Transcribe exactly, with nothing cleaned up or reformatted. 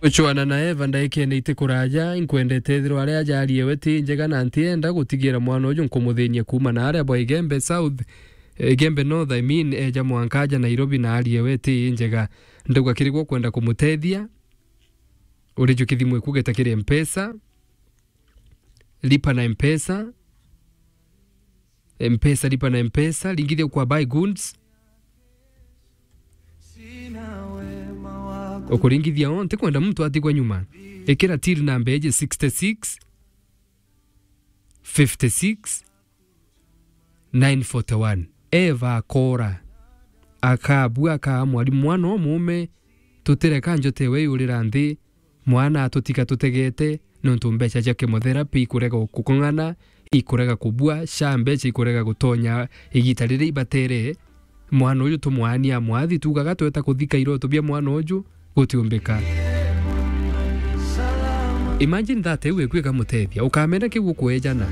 Gucwana na Eva ndaikene iti kuraja, inkwendete ethirwa aria ajarie we ti njega, na ntienda gutigira mwana uju nkumuthinia kuuma na aria bwa Igembe South, Igembe North, I mean, eja mwanka aja Nairobi na arie we ti njega. Ndauga kiri gwo kwenda kumutethia, uriju kithimu ikugeta kiri Mpesa, lipa na Mpesa, Mpesa, lipa na Mpesa, ringithia kwa buy goods. Ukuringithia o, ntikwenda muntu atigwa nyuma. Ikira till namba iji sixty six, fifty six, nine forty one. Eva akora. Akabua, akaa mwarimu mwana umume, tutireka njote we yurira nthi, mwana atutiga tutegete, nontu mbeca cia chemotherapy ikurega gukung'ana, ikurega kubua, sha mbeca ikurega gutonya igita riria ibatere. Mwana uju tumwaania mwathi, tugaga tweta kuthika iroto bia mwana uju gutiumbika. Imagine that, iu ikwika mutethia, ukamena kiu ukuejana.